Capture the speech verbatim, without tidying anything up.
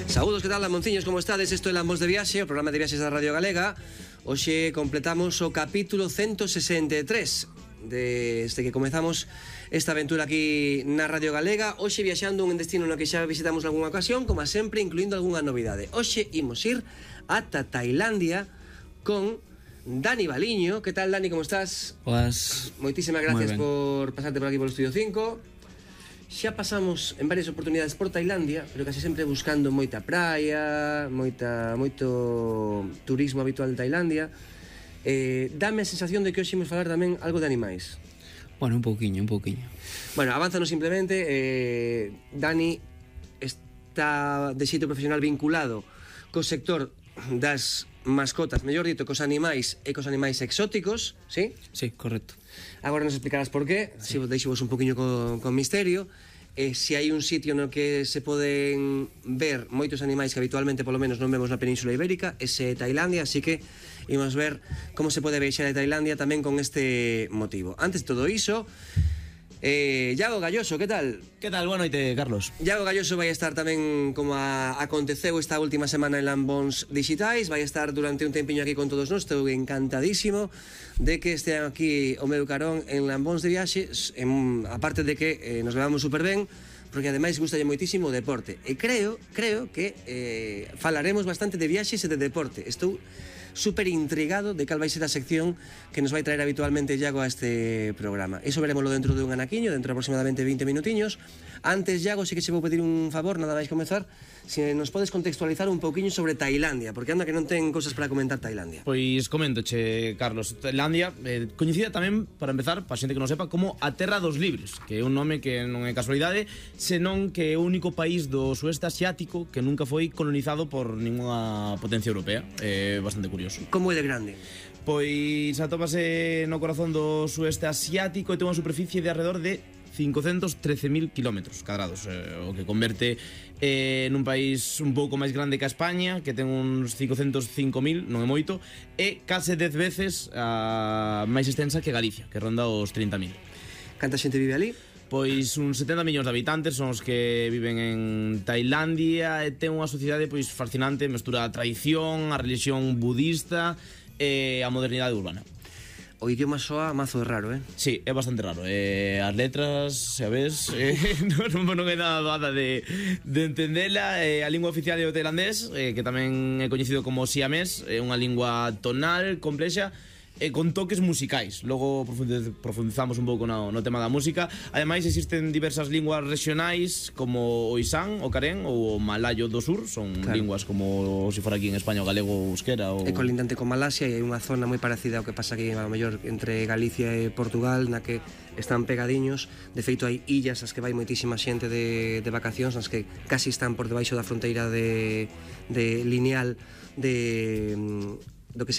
Saúdos, que tal, Lamonciños, como estades? Isto é Lambos de Viaxe, o programa de viaxes da Radio Galega. Hoxe completamos o capítulo ciento sesenta e tres desde que comezamos esta aventura aquí na Radio Galega. Hoxe viaxando un destino no que xa visitamos algunha ocasión, como sempre, incluindo algunha novidade. Hoxe imos ir ata Tailandia con Dani Baliño. Que tal, Dani, como estás? Pues, moitísimas gracias por pasarte por aquí polo Estudio cinco. Xa pasamos en varias oportunidades por Tailandia, pero casi sempre buscando moita praia, moita, moito turismo habitual de Tailandia. eh, Dame a sensación de que hoxe imos falar tamén algo de animais. Bueno, un pouquiño, un pouquiño. Bueno, avánzanos simplemente. eh, Dani está de xeito profesional vinculado co sector das mascotas, mellor dito, cos animais e cos animais exóticos, sí? Sí, correcto. Agora nos explicarás por qué, sí. Si vos deixo vos un poquinho con, con misterio. eh, Se hai un sitio no que se poden ver moitos animais que habitualmente polo menos non vemos na Península Ibérica, ese é Tailandia, así que imos ver como se pode viaxar a Tailandia tamén con este motivo. Antes de todo iso, Eh, Iago Galloso, que tal? Que tal? Boa noite, Carlos. Iago Galloso vai estar tamén, como a, aconteceu esta última semana en Lambons Digitais, vai estar durante un tempiño aquí con todos nós. Estou encantadísimo de que estean aquí o meu carón en Lambons de Viaxe, en, aparte de que eh, nos levamos super ben, porque ademais gustalle moitísimo o deporte. E creo, creo que eh, falaremos bastante de viaxes e de deporte. Estou super intrigado de cal vai ser a sección que nos vai traer habitualmente Iago a este programa. Iso veremoslo dentro de un anaquiño, dentro de aproximadamente veinte minutiños. Antes, Iago, sí que se vou pedir un favor, nada máis comezar, se nos podes contextualizar un pouquiño sobre Tailandia, porque anda que non ten cousas para comentar Tailandia. Pois coméntoche, Carlos. Tailandia, eh, coñecida tamén, para empezar, para xente que non sepa, como a Terra dos Libres, que é un nome que non é casualidade, senón que é o único país do sueste asiático que nunca foi colonizado por ninguna potencia europea. É bastante curioso. Como é de grande? Pois atópase no corazón do sueste asiático e ten unha superficie de alrededor de cincocentos trece mil kilómetros cadrados, eh, o que converte eh, nun país un pouco máis grande que a España, que ten uns cincocentos cinco mil, non é moito, e case dez veces a máis extensa que Galicia, que ronda os trinta mil. Canta xente vive ali? Pois uns setenta millóns de habitantes son os que viven en Tailandia e ten unha sociedade pois fascinante, mestura a tradición, a religión budista e a modernidade urbana. O idioma soa mazo raro, eh? Sí, é bastante raro. eh, As letras, xa ves, eh, non, non é nada nada de, de entendela. eh, A lingua oficial é o tailandés, eh, que tamén é coñecido como siamés. É unha lingua tonal, complexa e con toques musicais. Logo profundizamos un pouco no, no tema da música. Ademais, existen diversas linguas regionais como o isán, o carén ou o malayo do sur. Son claro. Linguas como se fora aquí en España o galego ou euskera ou... É colindante con Malasia e hai unha zona moi parecida ao que pasa aquí a mellor entre Galicia e Portugal, na que están pegadiños. De feito, hai illas as que vai moitísima xente de, de vacacións, nas que casi están por debaixo da fronteira de, de lineal de